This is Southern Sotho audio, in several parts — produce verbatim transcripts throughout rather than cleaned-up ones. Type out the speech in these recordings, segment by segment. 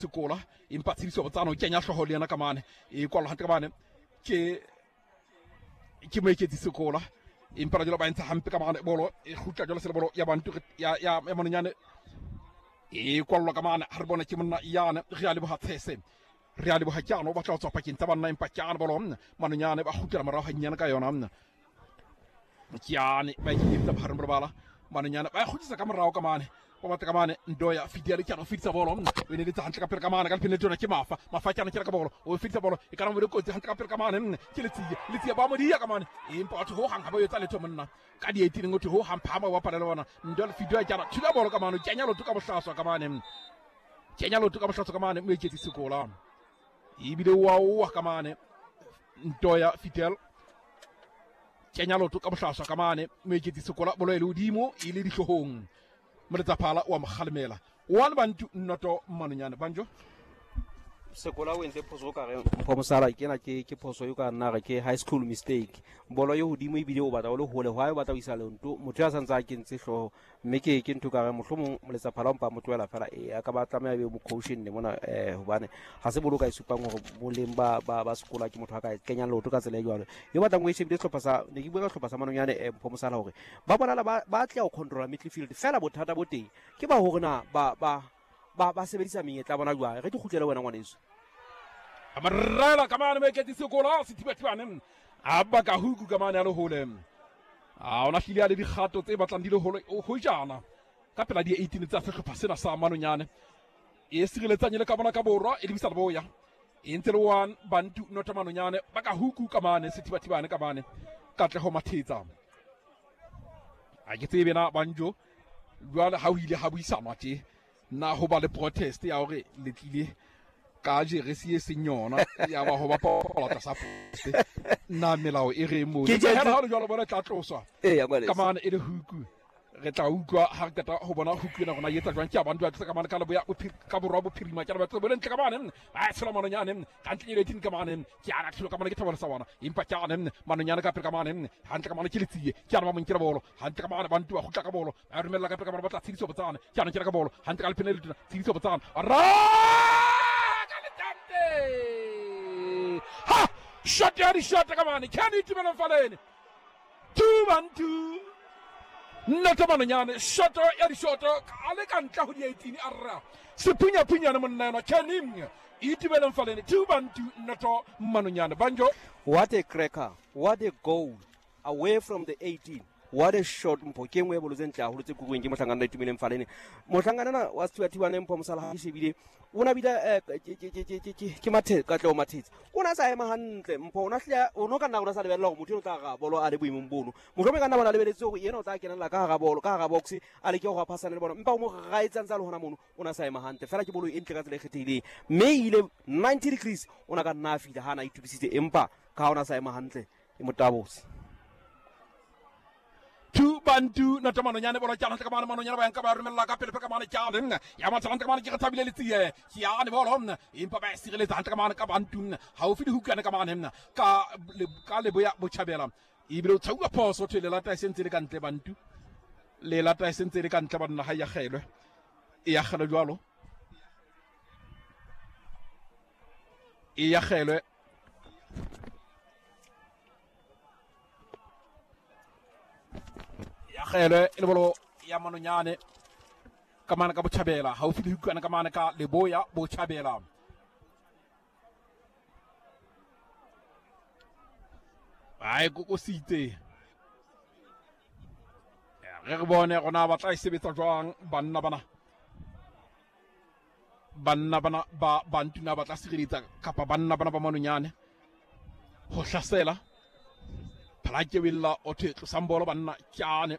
Sekola empa Tshidiso Botsana o kenya hlooho le yena ka mane e kwalwa hantle ka mane ke ke Moeketsi Sekola empa jalo ba entsha hampe ka mane bolo e kgutla jalo se bolo ya Bantu ya ya ya Manonyane e kwalwa ka mane ha re bona ke monna yane re a leboha Tshese re a leboha Kyano o batla ho tswa pakeng tsa banna empa Kyano bolo Manonyane ba kgutlela morao hannyane ka yona Kyane ba iketsa bohareng bo bala Manonyane ba kgutlisa ka morao ka mane ba batla ka mane Ndoya Fidel Kyano fitisa bolo o ne letsa hantle ka pele ka mane ka lephene tsona ke Mafa Mafa Kyano ke ka bolo o fitisa bolo e kana mo le kotsi hantle ka pele ka mane ke Letsie Letsie ba mo dia ka mane empa batho ho hang ha ba etsa letho monna ka di eighteen ngotho ho hang phama wa palela bona Ndoya Fidel Kyano thula bolo ka mane kenya loto ka bohlaswa ka mane kenya loto ka bohlaswa ka mane Moeketsi Sekola ebile wa wa ka mane Ndoya Fidel kenya loto ka bohlaswa ka mane Moeketsi Sekola bolo e le hodimo e le dihloohong Moletsaphala wa Mokgalemela one Bantu noto Manonyane Banjo Sekola o entse phoso ka re Mpho Mosala ke na ke ke phoso yo ka nna re ke high school mistake bolo yo hodimo ebile o batla o le hole hwa o batla o isa lento motho ya santse a kentse hlooho mme ke ke ntho ka re mohlomong Moletsaphala o mpa mo tlohela fela e a ka ba tlameha be mo caution ne mona eh hobane ha se boloka e supang hore boleng ba ba ba Sekola ke motho a ka kenyang leoto ka tsela e jwalo yo batlang o e shebile sehlopha sa ne ke bua ka sehlopha sa Manonyane eh Mpho Mosala hore ba bonala ba ba tla ho control midfield fela bothata bo teng ke ba hore na ba ba ba ba sebedisa menyetla bona jwang re ke kgutlele wena ngwaneso amarela ka mane Moeketsi Sekola sethibathibane a baka huku ka mane a le hole a ona hlile a le dikgato tse batlang di le hole ho jana ka pela di eighteen tsa sehlopha sena sa Manonyane e sireletsang le ka bona ka borwa e lebisa leboya e ntse le one Bantu nota Manonyane ba ka huku ka mane sethibathibane ka mane Katleho Mathetsa a ke tsebe na Banjo jwale ha ho ile ha buisanwa tje na ho ba le protest ya hore le tlile ka jeresi e seng yona ya ba ho bapala tlasa poste na melao e re mo ha le jwalo bona tla tloswa ka mane e le huku re tla utlwa ha re qeta ho bona huku ena rona e etsa jwang ke a bantu ba tla ka mane ka leboya ka borwa bophirima ke a batla bole ntle ka mane ba tshela Manonyane ka ntle le eighteen ka mane ke ana thilo ka mane ke thabela sa bona empa ke ana Manonyane ka pele ka mane hantle ka mane ke Letsie ke ana ba mo nkela bolo hantle ka mane Bantu ba kgutla ka bolo ba romella ka pele ka mane ba tla Tshidiso Botsana ke ana ke ka bolo hantle ka lephene le tona Tshidiso Botsana ra ka letante ha shot ya di shot ka mane can Itumeleng Faleni two Bantu nnoto Manonyane shoto ya dishoto a le ka ntle ho di eighteen a rra sephunyaphunyane monna yona Kenny Itumeleng Faleni two Bantu noto Manonyane Banjo what a cracker what a goal away from the eighteen what a shot Mpho ke nngwe ya bolo tse ntle haholo tse kuruweng ke mohlankana Itumeleng Faleni mohlankana na wa Sethibathibane Mpho Mosala ha ke shebile o na bile ke Mathe Katleho Mathetsa o na sa ema hantle Mpho o na hlile o no ka nna o na sa lebella hore motho o tla ra bolo a le boemong bono mohlomong ka nna bona lebeletse hore yena o tla kenella ka hara bolo ka hara box a leke ho phasana le bona empa o mo raetsang tsa le hona mono o na sa ema hantle fela ke bolo e ntle ka tsela e kgethehileng mme e ile ninety degrees o na ka nna a fihla ha na itokisitse empa ka ha o na sa ema hantle e motabose two Bantu noto Manonyane bolo ke hantle ka mane Manonyane ba yanka ba romella ka pele ka mane ke ane ya matla hantle ka mane ke re thabile Letsie ke ane bolo empa ba sireletsa hantle ka mane ka Bantu haufi le hukane ka mane ka ka leboya botjhabela ebile o tshauwa phoso thwe le lata e sentse le ka ntle Bantu le lata e sentse le ka ntle banna ha ya kgelwe e ya kgelwe jwalo e ya kgelwe ya kgelwe e le bolo ya Manonyane ka mane ka botjhabela haufi le hukana ka mane ka leboya botjhabela ba e kokositse re re bone rona ba tla e sebetsa jwang banna bana banna bana ba Bantu na ba tla sireletsa kapa banna bana ba Manonyane ho hlasela phala ke wella o thwe tlosang bolo banna kyane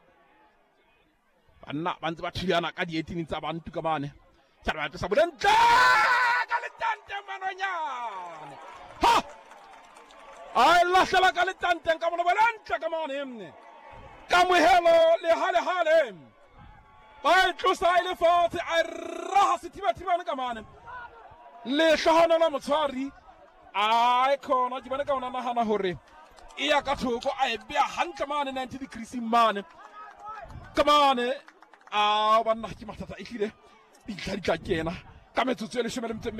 banna ba ntse ba thulana ka di eighteen tsa Bantu ka mane ke ba tlosa bolentle ka letante Manonyane ha a lahlela ka letanteng ka bona bolentle ka mane kamohelo le hale hale ba e tlosa e le fatshe a raha sethibathibane ka mane lehlohonolo la motshwari a e khona ke bone ka ona nahana hore e ya ka thoko a e beha hantle mane ninety degrees mane ka mane a banna ke mathata e hlile dintlha di tla kena ka metsotso e leshome le metso